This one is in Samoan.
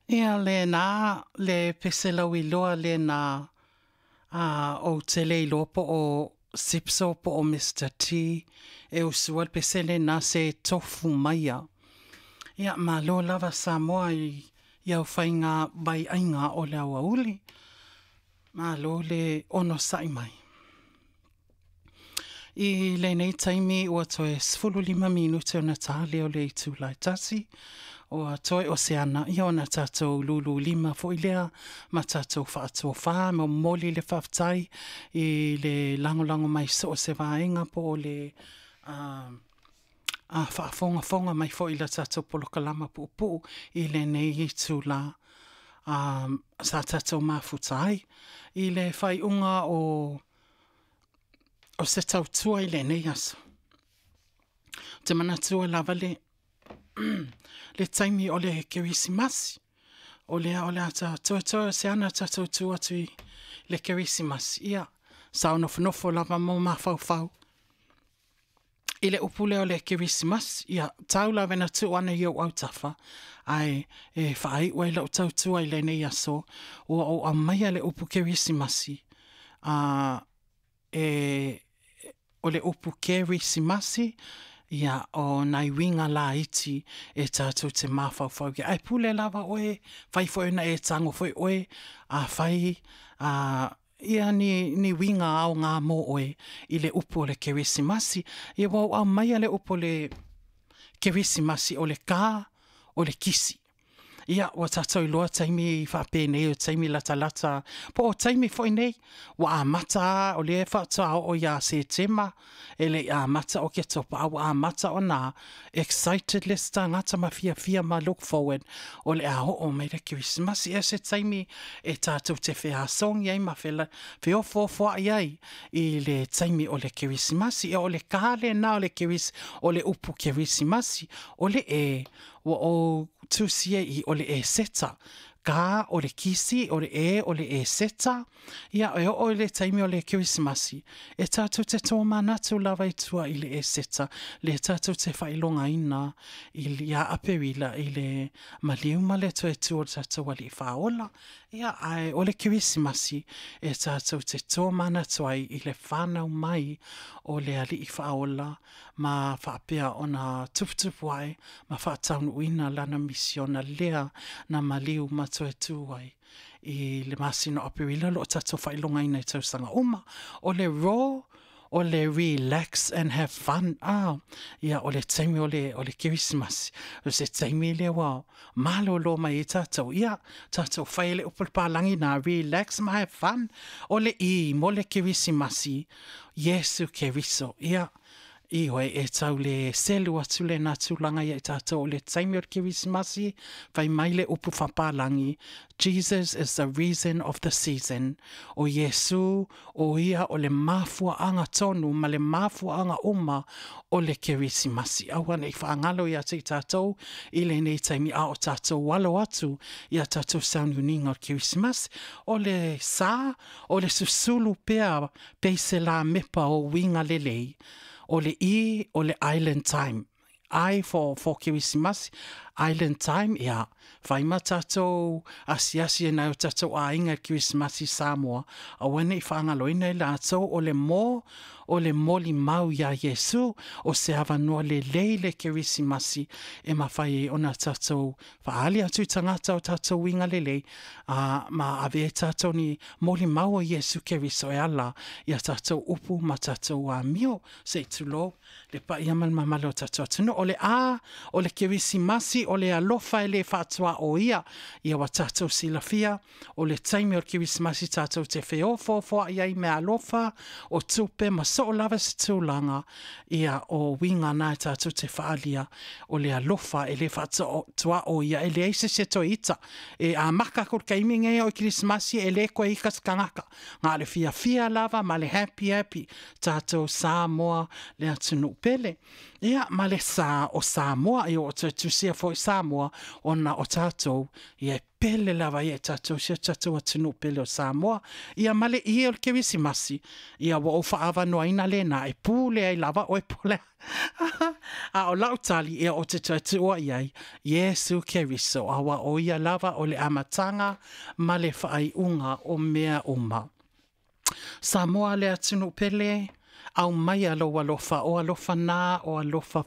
Ia lena le pese lauiloa lena a ou te le iloa po o Zipso po o Mister T e usua le pese lena se tofu maia. Ia malo lava Samoa i au faiga vaiaiga o le aoauli. Malo le onosai mai. I lenei taimi ua toe 15 minute ona ta lea o le itula e 1, ua toe o se ana ia ona tatou lulu lima foi lea ma tatou faatofa ma momoli le faafetai i le lagolago mai so o se vaega po o le a faafogafoga mai foi i le tatou polokalama puupuu i lenei itula sa tatou mafuta ai i le faaiuga o se tautua i lenei aso. Ou te manatua lava le le taimi o le Kerisimasi, o lea o le a toetoe o se ana tatou tu atu i le Kerisimasi, ia, sa ou nofonofo lava ma mafaufau i le upu lea o le Kerisimasi, ia, tau lava ina tuu ane i ou autafa, ae e faaiu ai lau tautua i lenei aso, ua ou aumaia le upu Kerisimasi, a e o le upu Kerisimasi, ia, o nai uiga laiti e tatou te mafaufau i ai. Ae pule lava oe, fai foi ona e tago foi oe, afai a ia ni, ni uiga aoga mo oe i le upu o le Kerisimasi. Ia ua ou aumaia le upu o le Kerisimasi o le ka o le kisi. Ia, ua tatou iloa taimi faapenei o taimi latalata, po o taimi foi nei, ua amata lava, o lea faatoa oo ia Setema, e le i amata Oketopa, a ua amata ona excited le isi tagata ma fiafia ma look forward o le a oo mai le Kerisimasi. Ia o se taimi e tatou te feasogi ai ma feofoofoai ai i le taimi o le Kerisimasi. Ia o le ka lena o le Keris, o le upu Kerisimasi, o le e ua ou tusi ai i o le Eseta. Ka o le kisi, o le e o le Eseta. Ia, e oo i le taimi o le Kerisimasi, e tatou te tōmanatu lava i tua i le Eseta, le tatou te faailogaina i ia Aperila i le maliu ma le toe tu o le tatou Alii Faaola. Ia, ae o le Kerisimasi e tatou te tōmanatu ai i le whanau mai o le Alii Faaola ma faapea ona tuputupu ae ma faataunuuina lana misiona lea na maliu ma toe tu ai i le masina o Aperila o lo o tatou faailogaina i tausaga uma. O le ro, o le relax and have fun. Ah, ia, o le taimi o le, o le Kerisimasi. O se taimi lea ua malolo mai ai tatou. Ia, tatou fai le upu palagi na relax ma have fun. O le i mo le Kerisimasi, Iesu Keriso. Ia, ioe, e tau le selu atu lena tulaga ia i tatou o le taimi o le Kerisimasi, fai mai le upu faapalagi, Jesus is the reason of the season. O Iesu, o ia o le mafuaaga tonu ma le mafuaaga uma o le Kerisimasi. Aua nei faagalo ia te i tatou i lenei taimi a o tatou alo atu ia tatou sauniuniga o le Kerisimasi. O le sa, o le susulu pea peise la mepa o uiga lelei, o le i o le island time. I for Kerisimasi, island time, ia, fai ma tatou asiasi e nai o tatou aiga i Kerisimasi i Samoa, aua nei faagaloina i latou o le mo, o le molimau iā Iesu, o se avanoa lelei le Kerisimasi e mafai ai ona tatou faaali atu i tagata o tatou uiga lelei, a ma ave ai tatou ni molimau o Iesu Keriso e ala ia tatou upu ma tatou amio. Se i tulou le paia ma le mamalu o tatou atunuu. O le a, o le Kerisimasi, o le alofa e le faatuaoia. Ia ua tatou silafia, o le taimi o le Kerisimasi tatou te feofoofoai ai mea alofa, o tupe ma soo lava se tulaga, ia o uiga na e tatou te faaalia, o le alofa e le faatuaoia, e leai se isi e toe ita. E amaka aku i le taimi nei o Kerisimasi e le koe ita se tagata. Na o le fiafia lava ma le happy happy tatou Samoa le atunuu pele. Ia ma le sa o Samoa, ia ua toe tusia foi Samoa ona o tatou, ia e pele lava ia i tatou si o tatou atunuu pele o Samoa. Ia ma le ie o le Kerisimasi, ia ua ou faaavanoaina lena e pule ai lava oe po o le a. A o lau tali, ia ou te toe tuua i ai, Iesu Keriso, aua o ia lava o le amataga ma le faaiuga o mea uma. Samoa le atunuu pele, aumaia lou alofa, o alofa na, o alofa.